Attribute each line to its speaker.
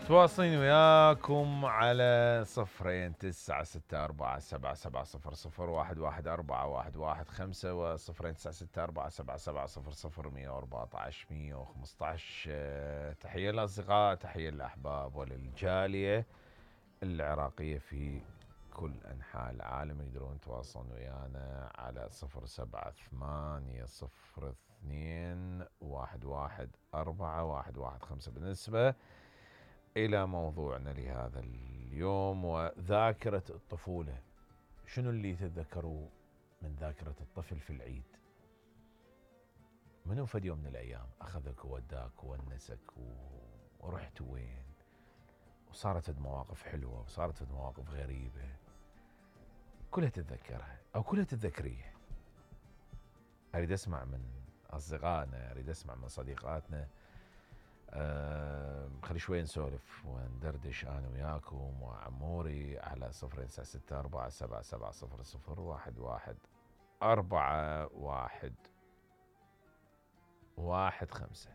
Speaker 1: تواصلين وياكم على 096477700114 و 0964770014. تحية للأصدقاء، تحية للأحباب وللجالية العراقية في كل أنحاء العالم. يقدرون يتواصلون ويانا على 07802211415. بالنسبة إلى موضوعنا لهذا اليوم وذاكرة الطفولة، شنو اللي تتذكروا من ذاكرة الطفل في العيد؟ منو فد يوم من الأيام أخذك ووداك وونسك ورحت وين وصارت مواقف حلوة وصارت مواقف غريبة كلها تتذكرها أو كلها تتذكريها؟ أريد أسمع من أصدقائنا، أريد أسمع من صديقاتنا. خلي شوي نسولف وندردش أنا وياكم وعموري على 096477001114.